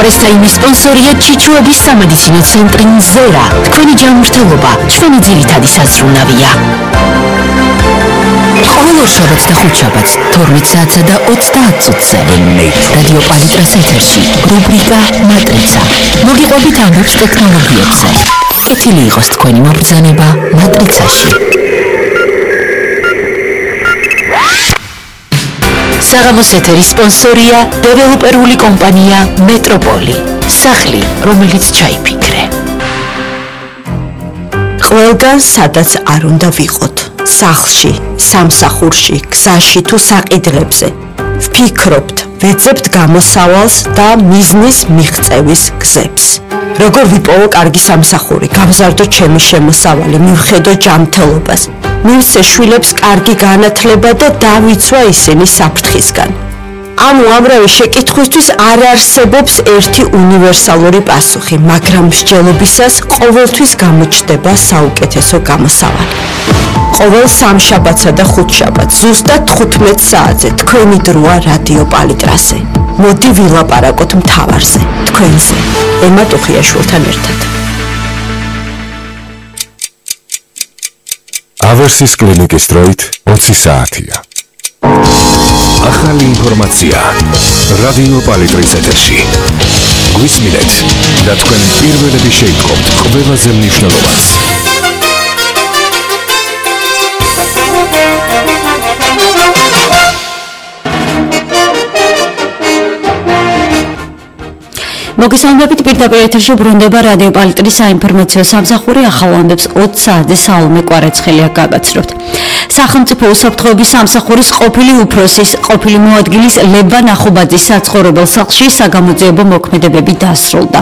Time სპონსორია ჩიჩუების სამედიცინო ცენტრი ზერა. თქვენი ჯანმრთელობა ჩვენი ძირითადი საზრუნავია. ყოველ შაბათს და ხუთშაბათს 12 საათსა და 30 წუთზე რადიო პალიტრას ეთერში რუბრიკა მატრიცა. მოგიყვებით ამბობს ტექნოლოგიებზე. კეთილი იყოს თქვენი მობრძანება მატრიცაში. საღამოს ეთერის სპონსორია დეველოპერული კომპანია მეტროპოლი. სახლი, რომელიც ჩაიფიქრე. ყველგან სადაც არ უნდა ვიყოთ. სახლში, სამსახურში, გზაში თუ საყიდლებზე. ვფიქრობთ, ვეძებთ გამოსავალს და მიზნის მიღწევის გზებს. როგორ ვიპოვო კარგი სამსახური, გავზარდო ჩემი შემოსავალი, მივხედო ჯანმრთელობას. მივცე შვილებს კარგი განათლება და დავიცვა ისინი საფრთხისგან. ამ უამრავი შეკითხვისთვის არ არსებობს ერთი უნივერსალური პასუხი, მაგრამ მსჯელობისას ყოველთვის გამოჩნდება საუკეთესო გამოსავალი. ყოველ სამშაბათსა და ხუთშაბათს ზუსტად 15 საათზე თქვენი დროა რადიო პალიტრაზე. მოდი ვილაპარაკოთ მთავარზე, თქვენზე, ემა ტუხიაშვილთან ერთად. ავერსის კლინიკის დროით 20 საათია. ახალი ინფორმაცია რადიო პალიტრის ეთერში. გვისმინეთ და თქვენ პირველები შეიტყობთ ყველაზე მნიშვნელოვანს. მოგესალმებით პირდაპირ ეთერში ბრუნდება რადიო პალიტრის საინფორმაციო სამსახური ახალ ამბებს 20 საათზე საულმე კვარაცხელია გაგაცნობთ. სახელმწიფო უსაფრთხოების სამსახურის ყოფილი უფროსის ყოფილი მოადგილის ლევან ახუბაძის საცხოვრებელ სახლში საგამოძიებო მოქმედებები დასრულდა.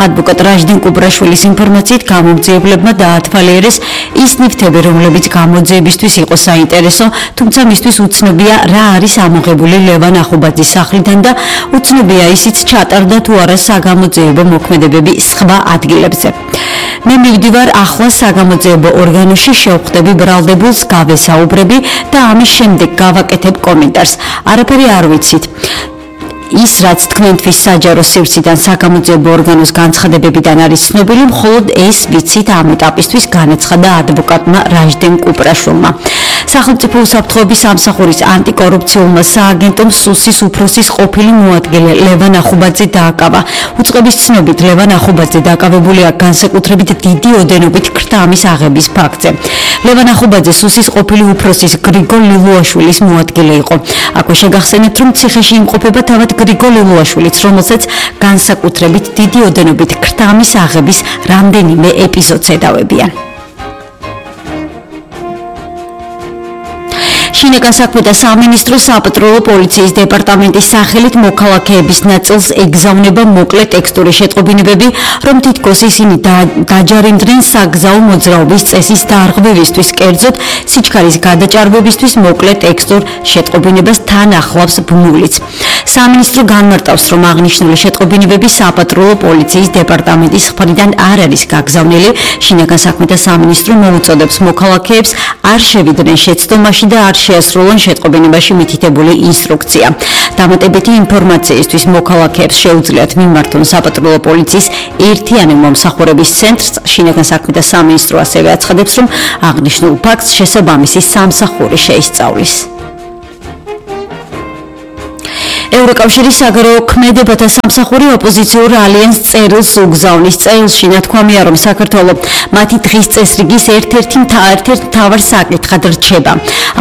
ადვოკატ რაჟდენ კუბრაშვილის ინფორმაციით გამომძიებლებმა დაათვალიერეს ის ნივთები, რომლებიც გამოძიებისთვის იყო საინტერესო, თუმცა მისთვის უცნობია რა არის ამოღებული ლევან ახუბაძის სახლიდან და უცნობია ისიც ჩატარდა თუ არა საგამოძიებო მოქმედებები სხვა ადგილებზე. მე მივდივარ ახლა საგამოძიებო ორგანოში, შევხვდები ბრალდებულს, გავესაუბრები და ამის შემდეგ გავაკეთებ კომენტარს. არაფერი არ ვიცით. ის რაც თქვენთვის საჯარო სივრციდან საგამოძიებო ორგანოს განცხადებებიდან არის ცნობილი, მხოლოდ ეს ვიცით ამ ეტაპისთვის, განაცხადა ადვოკატმა რაჟდენ კუპრაშვილმა. სახელმწიფო უსაფრთხოების სამსახურის ანტიკორუფციულმა სააგენტომ სუსის უფროსის ყოფილი მოადგილე ლევან ახუბაძე დააკავა. უწყების ცნობით ლევან ახუბაძე დაკავებულია განსაკუთრებით დიდი ოდენობით ქრთამის აღების ფაქტზე. ლევან ახუბაძე სუსის ყოფილი უფროსის გრიგოლ ლილუაშვილის მოადგილე იყო. აქვე შეგახსენებთ, რომ ციხეში იმყოფება თავად გრიგოლ ლილუაშვილიც, რომელსაც განსაკუთრებით დიდი ოდენობით ქრთამის აღების რამდენიმე ეპიზოდს ედავებიან. შინაგან საქმეთა სამინისტროს საპატრულო პოლიციის დეპარტამენტის სახელით მოქალაქეების ნაწილს ეგზავნება მოკლე ტექსტური შეტყობინებები, რომ თითქოს ისინი დაჯარიმდნენ საგზაო მოძრაობის წესის დარღვევისთვის, კერძოდ სიჩქარის გადაჭარბებისთვის მოკლე ტექსტურ შეტყობინებას თან ახლავს ბმულიც. სამინისტრო განმარტავს, რომ აღნიშნული შეტყობინებები საპატრულო პოლიციის დეპარტამენტის მხრიდან არ არის გაგზავნილი. შინაგან საქმეთა სამინისტრო მოუწოდებს მოქალაქეებს არ შევიდნენ შეცდომაში და არ შეასრულონ შეტყობინებაში მითითებული ინსტრუქცია. დამატებითი ინფორმაციისთვის მოქალაქეებს შეუძლიათ მიმართონ საპატრულო პოლიციის ერთიანი მომსახურების ცენტრს. შინაგან საქმეთა სამინისტრო ასევე აცხადებს, რომ აღნიშნულ ფაქტს შესაბამისი სამსახური შეისწავლის. ევროკავშირის საგარეო ქმედებათა სამსახური ოპოზიციურ ალიანსს წერილს უგზავნის. წერილში ნათქვამია, რომ საქართველო მათი დღის წესრიგის ერთ-ერთ მთავარ საკითხად რჩება.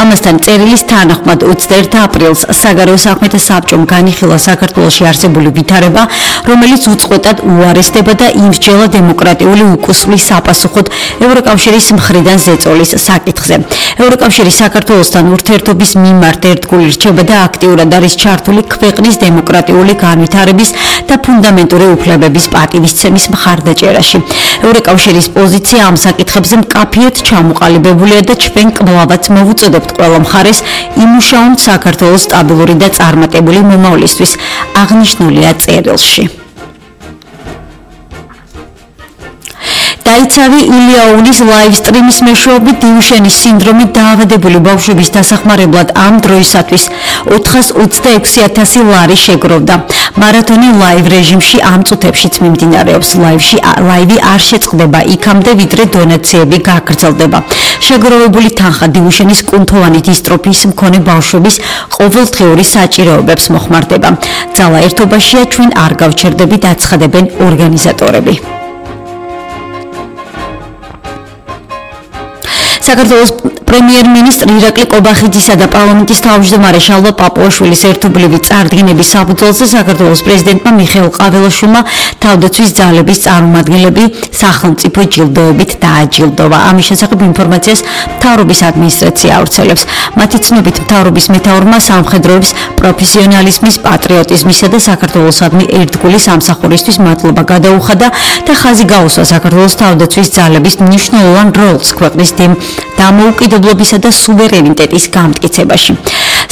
ამასთან წერილის თანახმად 21 აპრილს საგარეო საქმეთა საბჭომ განიხილა საქართველოში არსებული ვითარება, რომელიც უწყვეტად უარესდება და იმსჯელა დემოკრატიული უკუსვლის საპასუხოდ ევროკავშირის მხრიდან ზეწოლის საკითხზე. ევროკავშირი საქართველოსთან ურთიერთობის მიმართ ერთგული რჩება და აქტიურად არის ჩართული ქვეყნის დემოკრატიული განვითარების და ფუნდამენტური უფლებების პატივისცემის მხარდაჭერაში. ევროკავშირის პოზიცია ამ საკითხებზე მკაფიოდ ჩამოყალიბებულია და ჩვენ კვლავაც მოვუწოდებთ ყველა მხარეს იმუშაონ საქართველოს სტაბილური და წარმატებული მომავლისთვის, აღნიშნულია წერილში. დაიცავი ილიაულის ლაივ სტრიმის მეშვეობით დიუშენის სინდრომით დაავადებული ბავშვების დასახმარებლად ამ დროისათვის 426,000 ლარი შეგროვდა. მარათონი ლაივ რეჟიმში ამ წუთებშიც მიმდინარეობს. ლაივი არ შეწყდება იქამდე, ვიდრე დონაციები გაგრძელდება. შეგროვებული თანხა დიუშენის კუნთოვანი დისტროფიის მქონე ბავშვების ყოველდღიური საჭიროებებს მოხმარდება. ძალა ერთობაშია, ჩვენ არ გავჩერდებით, აცხადებენ ორგანიზატორები. საქართველოს პრემიერ-მინისტრი ირაკლი კობახიძისა და პარლამენტის თავმჯდომარე შალვა პაპუაშვილის ერთობლივი წარდგინების საფუძველზე საქართველოს პრეზიდენტმა მიხეილ ყაველაშვილმა თავდაცვის ძალების წარმომადგენლები სახელმწიფო ჯილდოებით დააჯილდოვა. ამის შესახებ ინფორმაციას მთავრობის ადმინისტრაცია ავრცელებს. მათი ცნობით მთავრობის მეთაურმა სამხედროების პროფესიონალიზმის, პატრიოტიზმისა და საქართველოსადმი ერთგული სამსახურისთვის მადლობა გადაუხადა და ხაზი გაუსვა საქართველოს თავდაცვის ძალების მნიშვნელოვან როლს ქვეყნის დამოუკიდებლობისა და სუვერენიტეტის გამტკიცებაში.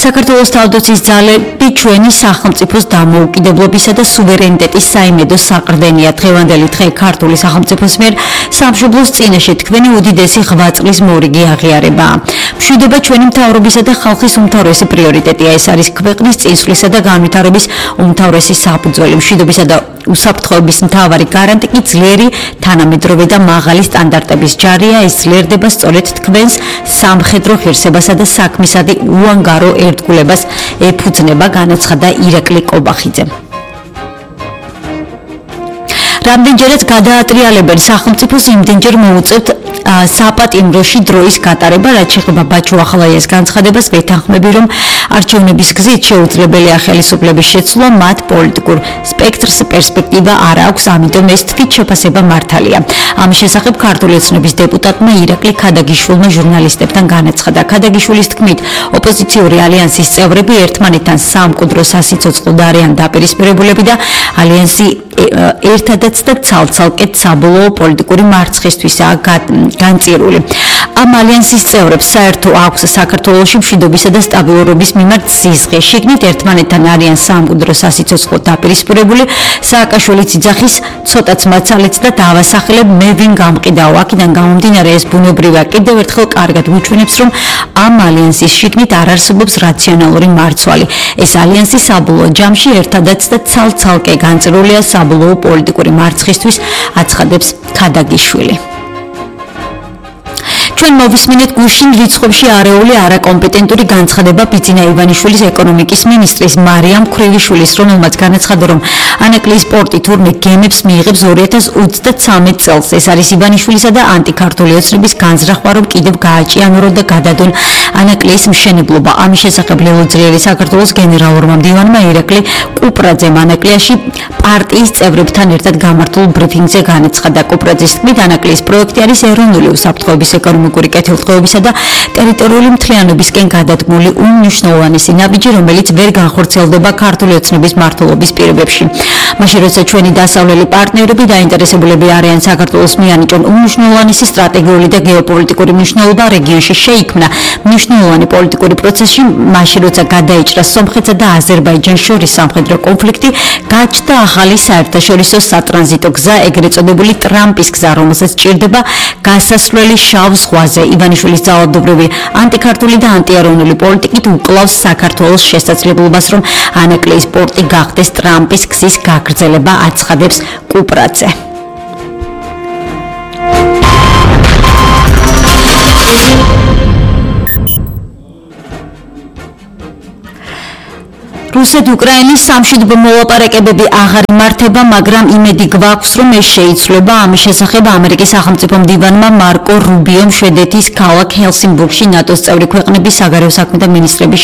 საქართველოს თავდაცვის ძალები ჩვენი სახელმწიფოს დამოუკიდებლობისა და სუვერენიტეტის საიმედო საყრდენია. დღევანდელი დღე ქართული სახელმწიფოს მიერ სამშობლოს წინაშე თქვენი უდიდესი ღვაწლის მორიგი აღიარებაა. მშვიდობა ჩვენი მთავრობისა და ხალხის უმთავრესი პრიორიტეტია. ეს არის ქვეყნის წინსვლისა და განვითარების უმთავრესი საფუძველი. მშვიდობისა და უსაფრთხოების მთავარი გარანტი კი ძლიერი, თანამედროვე და მაღალი სტანდარტების ჯარია. ეს ძლიერდება სწორედ თქვენს სამხედრო ღირსებასა და საქმისადი უანგარო ერთგულებას ეფუძნება, განაცხადა ირაკლი კობახიძემ. რამდენჯერაც გადაატრიალებენ სახელმწიფოს, იმდენჯერ მოუწევთ საპატიმროში დროის გატარება, რაც შეეხება ბაჩო ახალაიას განცხადებას, ვეთანხმები, რომ არჩევნების გზით შეუძლებელია ხელისუფლების შეცვლა, მათ პოლიტიკურ სპექტრს პერსპექტივა არ აქვს, ამიტომ ეს თვით შეფასება მართალია. ამის შესახებ ქართული ოცნების დეპუტატმა ირაკლი ქადაგიშვილმა ჟურნალისტებთან განაცხადა. ქადაგიშვილის თქმით, ოპოზიციური ალიანსის წევრები ერთმანეთთან სამკვდრო სასიცოცხლოდ არიან დაპირისპირებულები და ალიანსი ერთადაც და ცალ-ცალკე საბოლოო პოლიტიკური მარცხისთვისაა განწირული. ამ ალიანსის წევრებს საერთო აქვს საქართველოში მშვიდობისა და სტაბილურობის მიმართ სიზღე. შიგნით ერთმანეთთან არიან სამკვდრო სასიცოცხლოდ დაპირისპირებული. სააკაშვილის ძახის ცოტაც მაცალეთ და დავასახელებ, მე ვინ გამყიდაო. აქედან გამომდინარე, ეს ბუნებრივია. კიდევ ერთხელ კარგად ვუჩვენებს, რომ ამ ალიანსის შიგნით არ არსებობს რაციონალური მარცვალი. ეს ალიანსი საბოლოო ჯამში ერთადაც და ცალ-ცალკე განწირულია საბოლოო პოლიტიკური მარცხისთვის, აცხადებს ქადაგიშვილი. ჩვენ მოვისმინეთ გუშინ რიცხვებში არეული არაკომპეტენტური განცხადება ბიძინა ივანიშვილის ეკონომიკის მინისტრის მარიამ ქრივიშვილის, რომელმაც განაცხადა, რომ ანაკლიის პორტი თურმე გემებს მიიღებს 2023 წელს. ეს არის ივანიშვილისა და ანტიქართული ოცნების განზრახვა, რომ კიდევ გააჭიანურო და გადადონ ანაკლიის მშენებლობა. ამის შესახებ ლელოძლიერი საქართველოს გენერალურმა მდივანმა ირაკლი კუპრაძემ ანაკლიაში პარტიის წევრებთან ერთად გამართულ ბრიფინგზე განაცხადა. კუპრაძის თქმით, ანაკლიის პროექტი არის ეროვნული უსაფრთხოების ეკონომიკური კეთილდღეობისა და ტერიტორიული მთლიანობისკენ გადადგმული უმნიშვნელოვანესი ნაბიჯი, რომელიც ვერ განხორციელდება ქართული ოცნების მმართველობის პირობებში. მაშინ როცა ჩვენი დასავლელი პარტნიორები დაინტერესებულები არიან საქართველოს მიანიჭონ უმნიშვნელოვანესი სტრატეგიული და გეოპოლიტიკური მნიშვნელობა რეგიონში შეიქმნა მნიშვნელოვანი პოლიტიკური პროცესში, მაშინ როცა გადაიჭრა სომხეთსა და აზერბაიჯანს შორის სამხედრო კონფლიქტი, გაჩნდა ახალი საერთაშორისო სატრანზიტო გზა, ეგრეთ წოდებული ტრამპის გზა, რომელსაც ჭირდება გასასვლელი შავ ზღვაზე. ივანიშვილის ძალადობრივი ანტიქართული და ანტიეროვნული პოლიტიკით უკლავს საქართველოს შესაძლებლობას, რომ ანაკლიის პორტი გახდეს ტრამპის გზის გაგრძელება, აცხადებს კუპრაძე. რუსეთ-უკრაინის სამშვიდობო მოლაპარაკებები აღარ იმართება, მაგრამ იმედი გვაქვს, რომ ეს შეიცვლება. ამის შესახებ ამერიკის სახელმწიფო მდივანმა მარკო რუბიომ შვედეთის ქალაქ ჰელსინბურგში ნატოს წევრი ქვეყნების საგარეო საქმეთა მინისტრების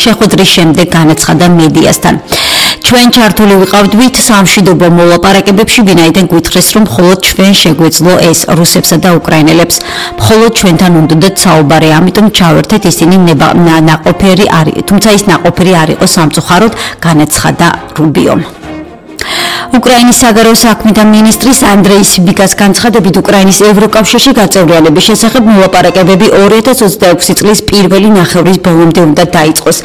შეხვედრის შემდეგ განაცხადა მედიასთან. ჩვენ ჩართული ვიყავდით სამშვიდობო მოლაპარაკებებში, ვინაიდან გვითხრეს, რომ მხოლოდ ჩვენ შეგვეძლო ეს რუსებსა და უკრაინელებს, მხოლოდ ჩვენთან უნდათ საუბარი, ამიტომ ჩავერთეთ, ისინი ნაყოფიერი არის, თუმცა ის ნაყოფიერი არ იყო სამწუხაროდ, განაცხადა რუბიომ. უკრაინის საგარეო საქმეთა მინისტრის ანდრეი სიბიკას განცხადებით უკრაინის ევროკავშირში გაწევრიანების შესახებ მოლაპარაკებები 2026 წლის პირველი ნახევრის ბოლომდე უნდა დაიწყოს.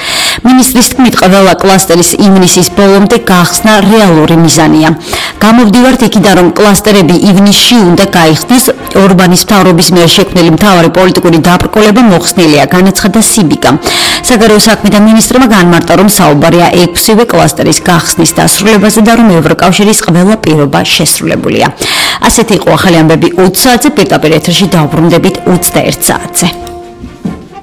მინისტრის თქმით, ყველა კლასტერის ივნისის ბოლომდე გახსნა რეალური მიზანია. გამოვდივართ იქიდან, რომ კლასტერები ივნისში უნდა გაიხსნეს. ორბანის მთავრობის მიერ შექმნილი მთავარი პოლიტიკური დაბრკოლება მოხსნილია, განაცხადა სიბიკა. საგარეო საქმეთა მინისტრმა განმარტა, რომ საუბარია 6-ვე კლასტერის გახსნის დასრულებაზე და რომ ევროკავშირის ყველა პირობა შესრულებულია. ასეთი იყო ახალი ამბები 20 საათზე, პირდაპირ ეთერში დავბრუნდებით 21 საათზე.